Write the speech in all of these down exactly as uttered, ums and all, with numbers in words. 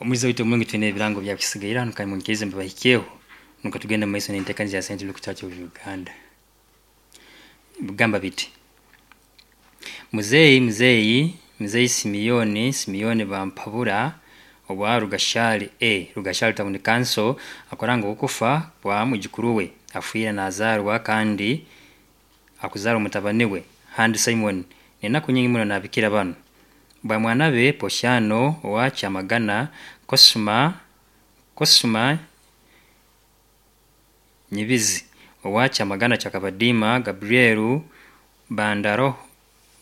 Omwiza waitu omurungi, twine ebirango byakisigaire hanu, kandi munyikirize mbibahikyeho nukwo tugende mumaiso n'enteekaniza ya Saint Luke Church of Uganda. Bigamba biti: Muzeeyi muzeeyi muzeeyi Simeon Simeon Bampabura owa Rugashari A, Rugashari Town Council, akoranga okufa kwa mwijukuru we afiire nazaarwa kandi akuzaara omutabani we Handi Simon. N'enaku nyingi muno nabikira banu bamwana be Posiano owa Kyamagana, Kosima Kosima Nyibizi owa Kyamagana Kyakabadiima, Gabriel Bandaro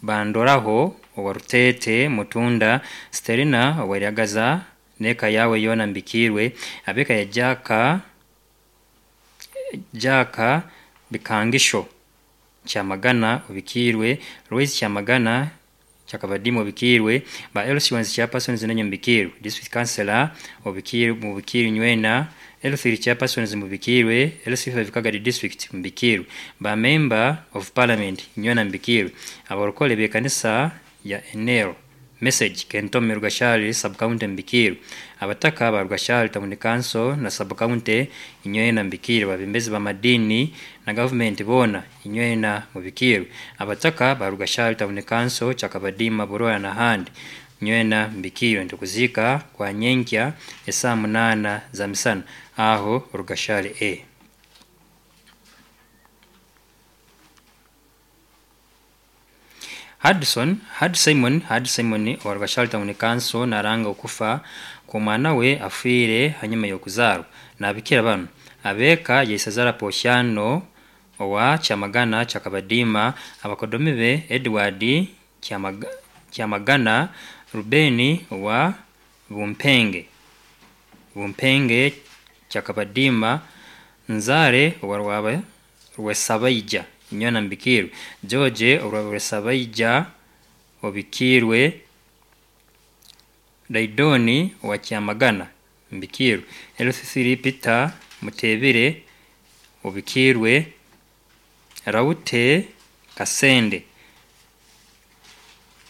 Bandoraho owa Rutete Mutunda, Sterina owa Ryagaza n'eka yawe yoona mbikiirwe, ab'eka ya Jaka Jaka Bikangisho Kyamagana obikiirwe, Lois Kyamagana Kyakabadiima obikiirwe, ba L C ones chairpersons nenyo mbikiirwe, district councillor obikiirwe, mubikiirwe nywena, L three chairpersons mubikiirwe, L C five Kagadi district mubikiirwe, ba member of parliament nywena mbikiirwe, abarokole b'ekanisa ya N L message Kentome Rugashari sub county mbikiirwe, abataka ba Rugashari Town Council na sub county inywena mbikiirwe, abebembezi b'amadiini na gavumenti boona inywena mubikiirwe, abataka ba Rugashari Town Council Kyakabadiima Buroya n'ahandi nywena mbikiirwe. Nitukuziika kwa nyenkya esaaha munaana za misana aho Rugashari A. Hudson Hud Simon Hud Simon owa Rugashari Town Council naranga okufa kw'omwana we afiire hanyuma y'okuzaarwa. Nabikira banu: abeeka Yaisazara Posiano owa Kyamagana Kyakabadiima, abakodomi be Edward Kyamaga, Kyamagana, Rubeni owa Bumpenge Bumpenge Kyakabadiima, Nzare owa Rwaba Rwesabaija inywena mbikiirwe, George owa Rwesabaija obikiirwe, Daidoni owa Kyamagana mbikiirwe, L C three Peter Mutebire obikiirwe, Raute Kasende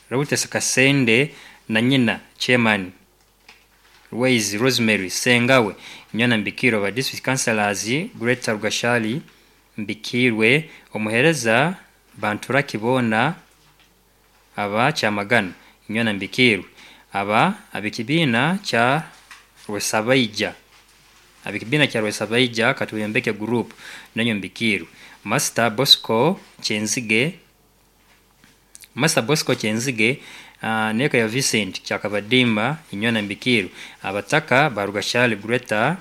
Raute Kasende na nyina chairman Rwaizi Rosemary Sengawe inywena mbikiirwe, ba district councillors Greater Rugashari mbikiirwe, omuhereza Banturaki boona aba Kyamagana inywena mbikiirwe, aba ab'ekibiina kya Rwesabaija ab'ekibiina kya Rwesabaija Katuyembeke group nanyo mbikiirwe, Master Bosco Kyenzige Master Bosco Kyenzige uh, n'eka ya Vincent Kyakabadiima inywena mbikiirwe, abataka ba Rugashari Greater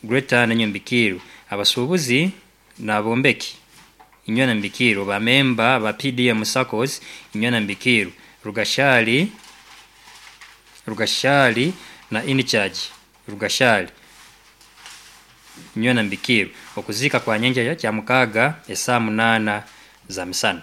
Greater nanyo mbikiirwe, abasuubuzi n'abombeki inywena mbikiirwe, ba memba ba P D M SACCOS inywena mbikiirwe, Rugashari Rugashari na in charge Rugashari inywena mbikiirwe. Okuziika kwa nyenkya kya mukaaga esaaha munaana za misana.